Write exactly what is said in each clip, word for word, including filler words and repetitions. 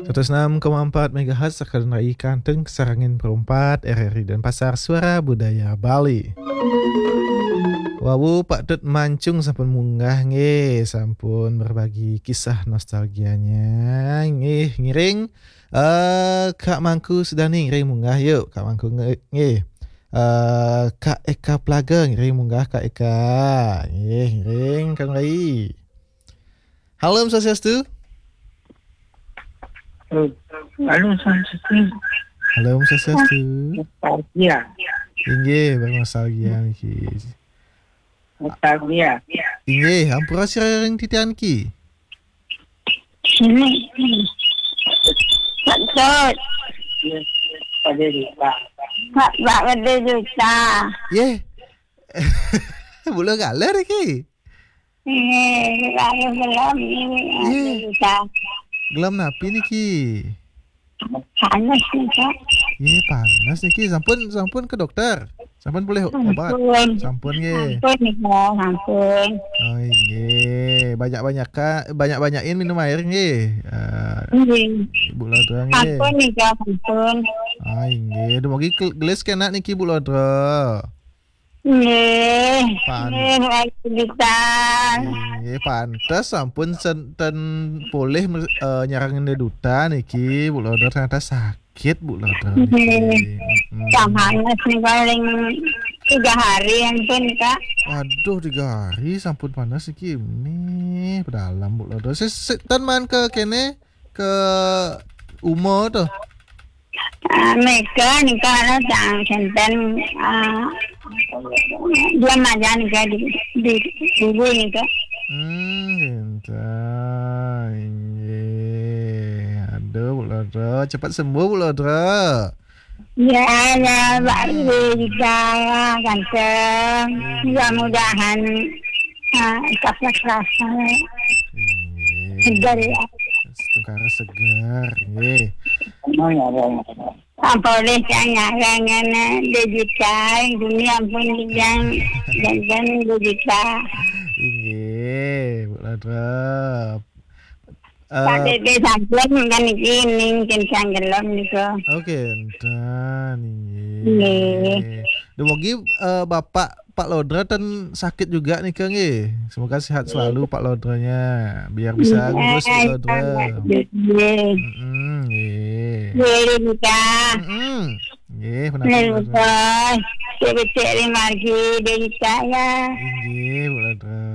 Seratus enam koma empat megahertz, Sakedan Rai Kanteng, Sarangin Perumpat, R R I Denpasar, Suara Budaya Bali. Wawu, Pak Tut Mancung sampun munggah nggih, sampun berbagi kisah nostalgianya nggih, ngiring, eh, Kak Mangku Sudani ngiring munggah yuk, Kak Mangku nge-, nggih. Eh, Kak Eka Plaga ngiring munggah, Kak Eka. Nggih, ngiring Kang Rai. Halo, Om Swastiastu. Halo, Swastiastu. Halo, Om Swastiastu. Nostalgia. Inggih, bernostalgia niki. Nostalgia. Inggih, ampura sira ring titiang niki. Sini. Pak Dut. Pak, Pak Gede Juta. Yeh. Bula galer iki. Eh, lalu gelem ini, Ih. Bisa. Gelem napi niki? Panas nih, Kak. Ih, panas niki. Sampun, sampun ke dokter. Sampun boleh obat. Sampun. Sampun nggih. Sampun nih, Kak. Sampun. Oh, nggih. Banyak-banyak, Kak. Banyak-banyakin minum air nggih. Eh, Nggih. Ibu Lodra nggih. Sampun nih, Kak. Sampun. Ah, nggih. Dumugi kel-, gelis kena niki, Bu Lodra. Nggih, Pan- nggih, Pak Juta. Nggih, pantes sampun senten polih, eh, nyarang Ende Duta niki, Bu Lodra, ternyata sakit, Bu Lodra, niki. Nggih. Mm-mm. Panas nih, paling tiga hari ampun, Kak. Aduh, tiga hari sampun panas niki. Nih, pedalam, Bu Lodra. Si, si, ten man ke kene, ke uma tuh. Ah, meka nika ana sang senten, ah, dia maja nika di, di, di bubur nika. Hmm, cinta. Inggih. Aduh, Bu Lodra. Cepat sembuh, Bu Lodra. Ya, ya, Pak Rika, ganteng. Iya. Mudah-mudahan, ah, cepat rasanya. Inggih. Segar ya. Segar, segar. Inggih. Apa boleh saya nyarangan, eh, digital, dunia pun yang, dan, dan digital. Inggih, Bu Lodra. Eh, Pak Dede sampun kan iki ning kencang gelem niku. Oke, enten, inggih. Nggih. Dumugi, eh, Bapak Pak Lodra ten sakit juga nih, Kang, nggih. Semoga sehat selalu Pak Lodranya, biar bisa ngurus Pak Lodra. Nggih. Mm-mm, nggih. Nggih, Lika. Mm-mm. Nggih, penapa, Lodra? Nggih, Lika. Cek-cek lima G, Lika, ya. Inggih, Bu Lodra.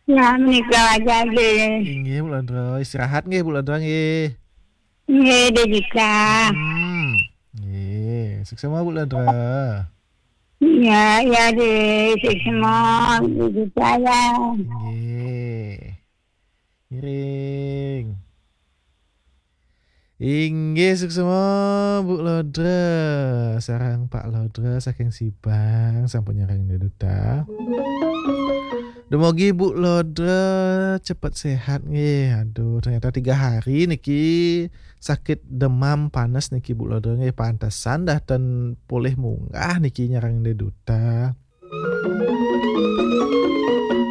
Ya, menika aja deh. Inggih, Bu Lodra. Istirahat nggih, Bu Lodra nggih. Nggih, deh bisa. Hmm. Nggih, suksema, Bu Lodra. Ya, ya deh, suksema, deh bisa ya. Nggih. Ngiring. Inggih, suksema, Bu Lodra. Sareng Pak Lodra saking Sibang, sampun nyarang Ende Duta. Dumugi Bu Lodra cepet sehat nggih. Aduh, ternyata tiga hari niki sakit demam panas niki, Bu Lodra nggih. Pantesan dah ten polih munggah niki nyarang Ende Duta.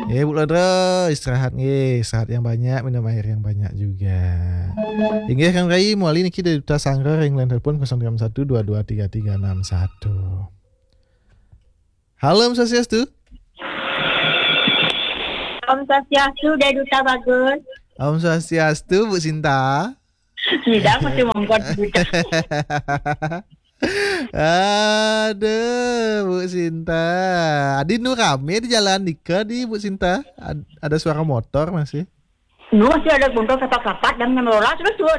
Nggih, Bu Lodra, istirahat nggih, istirahat yang banyak, minum air yang banyak juga. Inggih, Kang Rai, mawali niki Ende Duta Sanggar ring line telepon kosong tiga satu dua dua tiga tiga enam satu. Halo, Om Swastiastu. Om Swastiastu, Ende Duta Bagus. Om Swastiastu, Bu Sinta. Sidang masih mongkot juga. Aduh, Bu Sinta. Adi nu rame di jalan nika di, Bu Sinta. Ad-, ada suara motor masih? Nu masih ada motor kapat-kapat dan ngelola terus, Bu.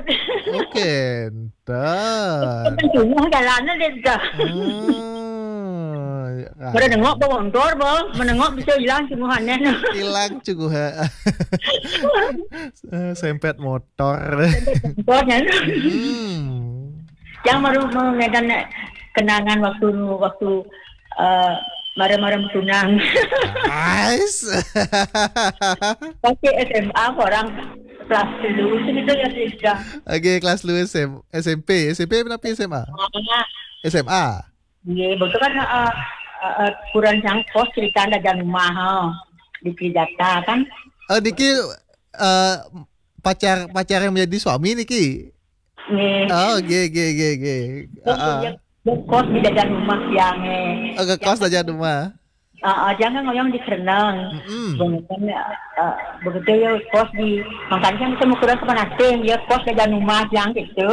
Oke, entar. Kan cuma jalannya deh, dah. Oh, ya. Pada nengok ke motor, Bu. Menengok bisa hilang sungguhannya. Hilang sungguhan. Eh, sempet motor. Motornya. Hmm. Yang baru mengenang kenangan waktu, waktu, eh, marah-marah tunang. Ais. Masih S M A, orang kelas dulu, segitu ya, Rizka. Oke, kelas dulu S M, S M P. S M P apa S M A? Ah. S M A. Iya, betul kan, eh, eh, eh, kurang jangkos cerita ada dan rumah, eh, di Trijata kan. Oh, niki eh, pacar pacar yang menjadi suami niki. Nggih. Oh, nggih nggih nggih nggih. Terus Heeh. dia, dia kos di daerah rumah tiang eh. Oh, ke kos aja rumah. Ah, ah, jangan ngoyong di Kereneng. Mm-mm. Begitu ya, eh, begitu ya kos di, makanya kan ketemu kurang sama nanti, dia kos di daerah rumah tiang gitu.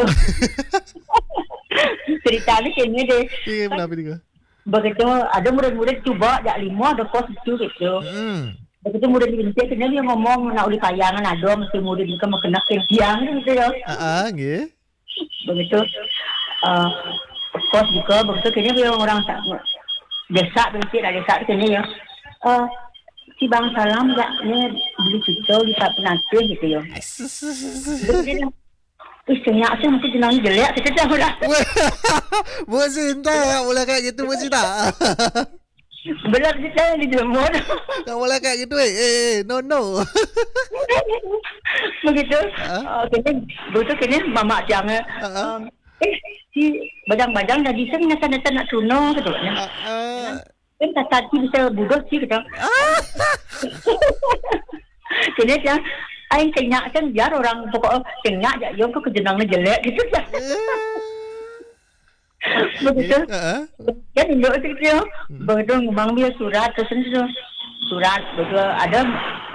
Ceritanya gini deh. Iya, kenapa nih? Begitu ada murid-murid coba, jak lima ada kos itu gitu. Mm-mm. Begitu murid dibenci, dia ngomong, nak uli payangan ada, mesti murid juga mau kena tiang gitu ya. Ah, ah, nggih. Begitu eh, kos juga begitu kini dia orang tak desa, begitu dah desa kini ya. Eh, si Bang Salam ya, ni beli kita di tak penatih gitu ya. Jadi dia, ih, senyap sih, mesti jenang jelek kita dah lah. Weh, Bu Sinta, tak boleh kayak gitu, Bu Sinta. Benar kita yang dijelma. Tak boleh kayak gitu, eh. Eh, eh, no, no. Begitu. Ah? Oh, kini, begitu kini mamak tiang eh. Ah, ah. Um, eh, si bajang-bajang dah bisa ni nasa-nasa nak tuna gitu. Ah, ah. Kan tak tadi bisa budak sih gitu. Ah. Kini tiang, ai kenyak kan biar orang pokok kenyak je, yang tu kejenang ni jelek gitu. Eh. Begitu. Heeh. Kan induk tu dia. Hmm. Begitu ngembang dia surat tu sendiri tu. Surat begitu ada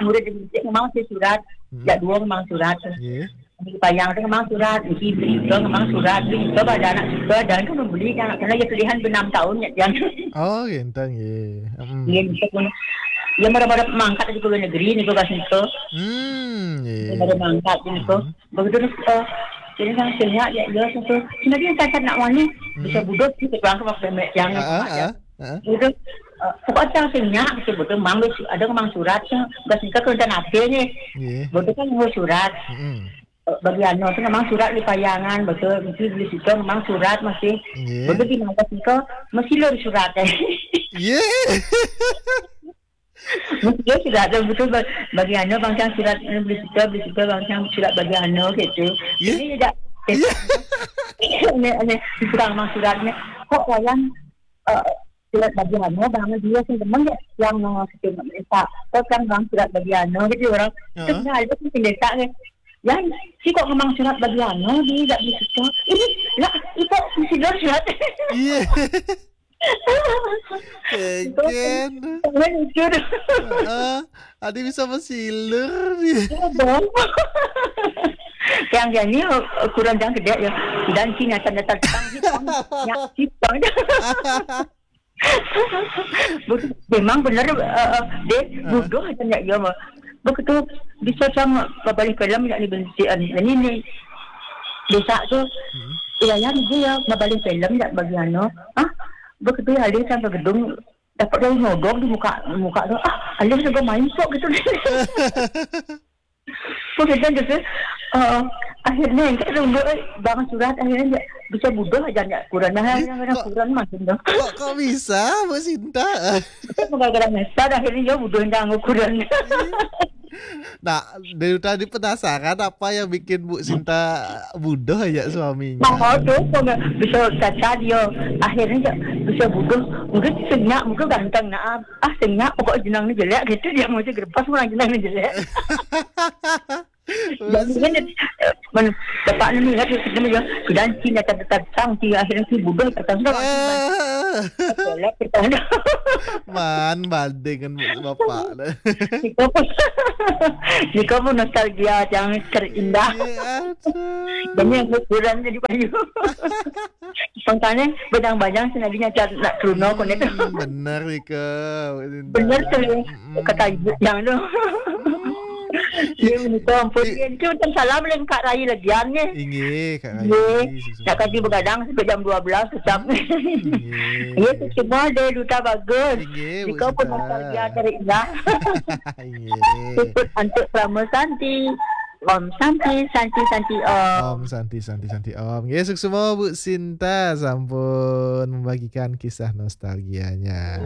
murid di masjid ngembang si surat. Hmm. Jak dua ngembang surat tu. Nggih. Di payang tu ngembang surat, di beli tu ngembang surat, beli tu pada anak suka dan tu membeli anak kena dia pilihan enam tahun ya dia. Oh, gitu nggih. Hmm. Dia bisa pun dia mara-mara mangkat di luar negeri ni tu kat situ. Hmm, nggih. Dia mara mangkat di situ. Hmm. Begitu ni, eh, jadi kan senyap ya, ya, tu. Sebenarnya saya tak nak wani, bisa budak sih, terang ke waktu yang Ah, ah, ah, ah. Begitu, eh, pokok saya senyap, betul, betul, mang, ada mang surat, ya. Dah singkat ke rencana apa ni? Nggih. Betul kan, mau surat. Mm-mm. Eh, bagi anu, tu memang surat di payangan, betul, mesti beli situ, memang surat masih. Nggih. Betul di mana singkat, mesti lor surat, eh. Iya. Mesti surat tu betul ba-, bagi anu bang cang surat, eh, beli suka, beli suka bang cang surat bagi anu gitu. Ya. Ini tidak, ya. Ini, ini kurang mang suratnya. Kok wayang, eh, surat bagi anu bang dia sing demen ya yang, eh, kita minta. Kok kan bang surat bagi anu gitu orang. Heeh. Sebenarnya ada sing desa ni. Yang si kok memang surat bagi anu dia tidak beli suka. Ini lah, itu mesti surat. Iya. Keken. Jangan jujur. Heeh. Adi bisa masilur ni. Iya dong. Yang jadi, eh, kurang jangan gede ya. Dan Cina tanda tentang hitam. Ya, hitam. Betul. Memang benar, eh, eh, deh, bodoh aja ya, ya, mah. Begitu bisa sama babalik film yang dibenci, eh, ini nih. Bisa tu, hmm. Iya, ya, dia ya, babalik film yang bagian, no. Ah, begitu ya, dia sampai gedung, dapat dia nyodok di muka, muka tu. Ah, alis juga main sok gitu. Begitu gitu. Eh, akhirnya yang kita tunggu, eh, bang surat akhirnya dia bisa bodoh aja ya, kurang nah, eh, yang kena kok, kurang macam tu. Kok, kok bisa, Bu Sinta? Gara-gara nyesal, akhirnya dia bodoh yang ukuran. Nah, dari tadi penasaran apa yang bikin Bu Sinta bodoh ya suaminya? Mau tu, kok bisa caca dia. Akhirnya dia bisa bodoh. Mungkin senyap, mungkin ganteng. Nah, ah, senyap, pokok jenang ni jelek. Gitu dia mesti gerpas orang jenang ni jelek. Jadi kan, eh, men-, bapak ni ingat, kita mesti, kita Cina tak datang, dia akhirnya si bodoh datang. Ah. Jelek kita. Man, banding dengan bapak dah. Jika pun, jika pun nostalgia yang terindah. Iya, aduh. Dan yang kurang jadi payu. Spontannya, bajang-bajang sih, nabi nyata nak teruna, hmm, konek. Benar, Rika. Benar tu. Mm-mm. Kata yang tu. Hmm. Dia menikah, ampun. Dia tu macam salam lain Kak Rai lagi, aneh. Inggih, Kak Rai. Inggih. Nak kaji begadang sampai jam dua belas, tetap. Hmm. Inggih. Ya, semua ada duta bagus. Inggih, Bu Sinta. Jika pun nostalgia terindah. Inggih. Ikut antuk Prama Santi. Om Santi, Santi, Santi, Om. Om Santi, Santi, Santi, Om. Nggih, suksma Bu Sinta sampun membagikan kisah nostalgianya.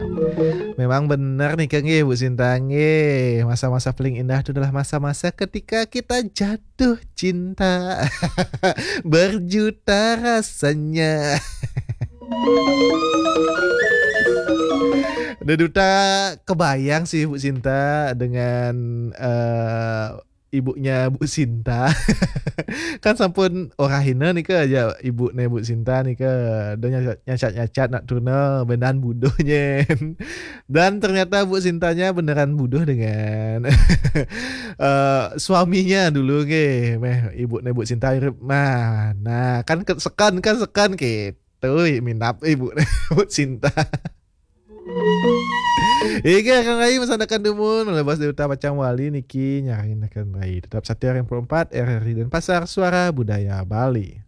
Memang benar nih, Kang, nggih, Bu Sinta, nggih. Masa-masa paling indah itu adalah masa-masa ketika kita jatuh cinta. Berjuta rasanya. Dé Duta kebayang sih Bu Sinta dengan eh, ibunya Bu Sinta. Kan sampun orahina nika aja ibu ne Bu Sinta nika. Dia nyacat-nyacat nak tuna benan buduh nyen. Dan ternyata Bu Sintanya beneran buduh dengan eh, suaminya dulu nggih. Meh ibu ne Bu Sinta irip mah. Nah, kan ke- sekan kan sekan gitu. Minap ibu ne Bu Sinta. Iga akan rai masanakan dumun, melebas Dé Duta Pacang Wali niki nyarinakan rai. Tetap setia R M empat R R I Denpasar, suara budaya Bali.